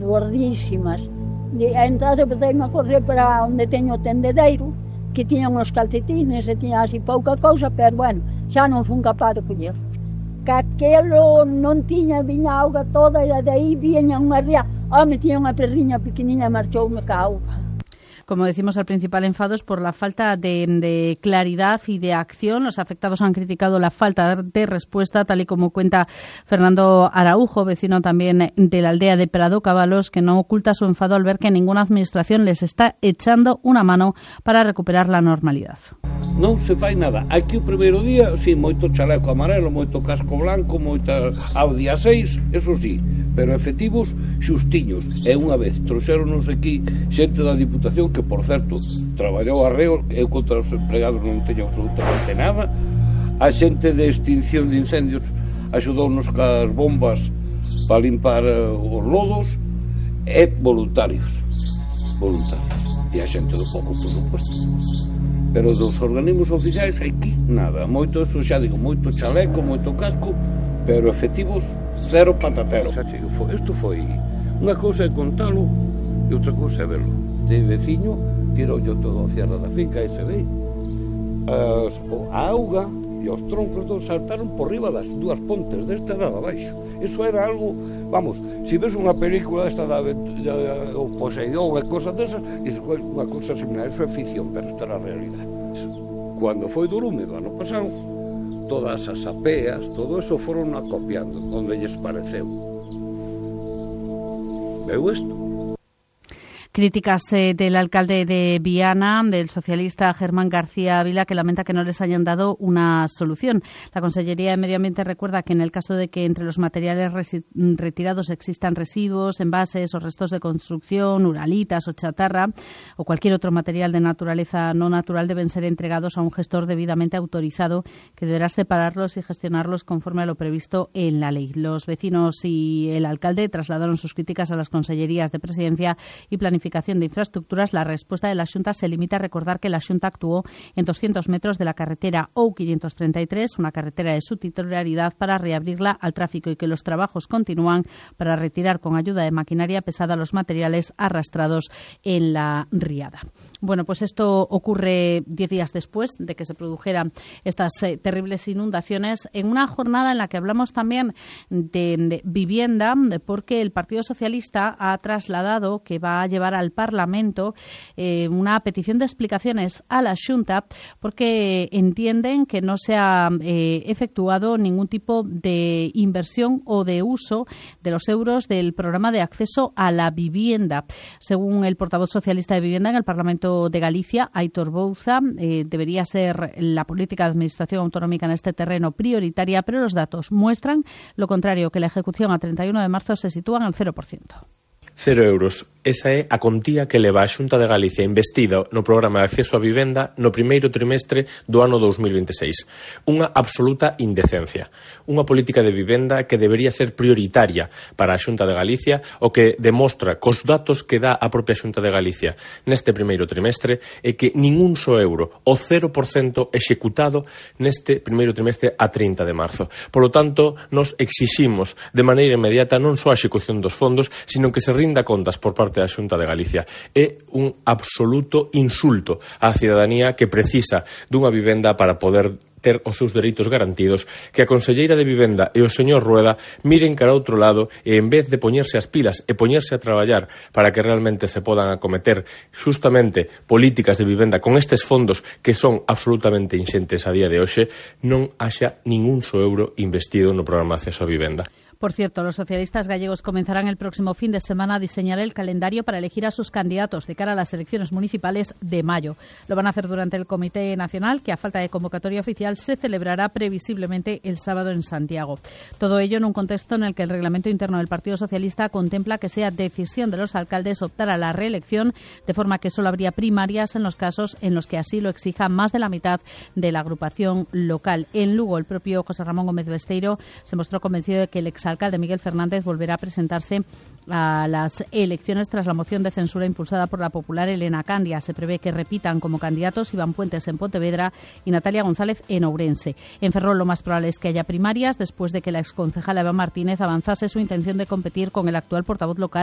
gordísimas. Entón empecéme a correr para onde teño o tendedeiro, que tiña uns calcetines e tiña así pouca cousa, pero bueno, xa non fun capaz de collerlos. Que aquelo non tiña, viña a auga toda e de aí viña unha ría, tiña unha perriña pequeniña e marchoume ca auga. Como decimos, el principal enfado es por la falta de claridad y de acción. Los afectados han criticado la falta de respuesta, tal y como cuenta Fernando Araujo, vecino también de la aldea de Prado Cabalos, que no oculta su enfado al ver que ninguna administración les está echando una mano para recuperar la normalidad. Non se fai nada. Aquí o primeiro día, sí, moito chaleco amarelo, moito casco blanco, moita Audi A6, eso sí, pero efectivos xustiños. E unha vez trouxeronos aquí xente da Diputación que, por certo, traballou arreo, eu contra os empregados non teño absolutamente nada. A xente de extinción de incendios axudounos cas bombas para limpar os lodos, e voluntarios. E a xente do pouco, por suposto. Pero dos organismos oficiais aquí nada, moito, eso xa digo, moito chaleco, moito casco, pero efectivos cero patatero. Isto foi unha cousa é contalo e outra cousa é verlo. De veciño tirou yo todo a cierra da finca e se ve a auga e os troncos todos saltaron por riba das dúas pontes desta dada abaixo. Eso era algo, vamos, se ves unha película esta o Poseidón e cosas desas, dices, unha cousa similar, eso é ficción, pero esta era a realidade. Cando foi do lume do ano pasado, todas as apeas, todo eso foron acopiando onde lles pareceu. Veu isto? Críticas del alcalde de Viana, del socialista Germán García Ávila, que lamenta que no les hayan dado una solución. La Consellería de Medio Ambiente recuerda que en el caso de que entre los materiales retirados existan residuos, envases o restos de construcción, uralitas o chatarra o cualquier otro material de naturaleza no natural, deben ser entregados a un gestor debidamente autorizado que deberá separarlos y gestionarlos conforme a lo previsto en la ley. Los vecinos y el alcalde trasladaron sus críticas a las consellerías de Presidencia y Planificación de Infraestructuras. La respuesta de la Xunta se limita a recordar que la Xunta actuó en 200 metros de la carretera OU533, una carretera de su titularidad, para reabrirla al tráfico y que los trabajos continúan para retirar con ayuda de maquinaria pesada los materiales arrastrados en la riada. Bueno, pues esto ocurre 10 días después de que se produjeran estas terribles inundaciones, en una jornada en la que hablamos también de vivienda, porque el Partido Socialista ha trasladado que va a llevar al Parlamento una petición de explicaciones a la Xunta, porque entienden que no se ha efectuado ningún tipo de inversión o de uso de los euros del programa de acceso a la vivienda. Según el portavoz socialista de Vivienda en el Parlamento de Galicia, Aitor Bouza, debería ser la política de administración autonómica en este terreno prioritaria, pero los datos muestran lo contrario, que la ejecución a 31 de marzo se sitúa en el 0%. 0 euros. Esa é a contía que leva a Xunta de Galicia investida no programa de acceso á vivenda no primeiro trimestre do ano 2026. Unha absoluta indecencia. Unha política de vivenda que debería ser prioritaria para a Xunta de Galicia, o que demostra cos datos que dá a propia Xunta de Galicia neste primeiro trimestre é que ningún só euro, o 0% executado neste primeiro trimestre a 30 de marzo. Por lo tanto, nos exiximos de maneira inmediata non só a execución dos fondos, sino que se rinda contas por parte da Xunta de Galicia. É un absoluto insulto á cidadanía que precisa dunha vivenda para poder ter os seus dereitos garantidos, que a conselleira de Vivenda e o señor Rueda miren cara a outro lado e, en vez de poñerse as pilas e poñerse a traballar para que realmente se podan acometer justamente políticas de vivenda con estes fondos que son absolutamente inxentes a día de hoxe, non haxa ningún só euro investido no programa de acceso a vivenda. Por cierto, los socialistas gallegos comenzarán el próximo fin de semana a diseñar el calendario para elegir a sus candidatos de cara a las elecciones municipales de mayo. Lo van a hacer durante el Comité Nacional, que a falta de convocatoria oficial se celebrará previsiblemente el sábado en Santiago. Todo ello en un contexto en el que el reglamento interno del Partido Socialista contempla que sea decisión de los alcaldes optar a la reelección, de forma que solo habría primarias en los casos en los que así lo exija más de la mitad de la agrupación local. En Lugo, el propio José Ramón Gómez Besteiro se mostró convencido de que el exalcalde Miguel Fernández volverá a presentarse a las elecciones tras la moción de censura impulsada por la popular Elena Candia. Se prevé que repitan como candidatos Iván Puentes en Pontevedra y Natalia González en Ourense. En Ferrol lo más probable es que haya primarias después de que la exconcejala Eva Martínez avanzase su intención de competir con el actual portavoz local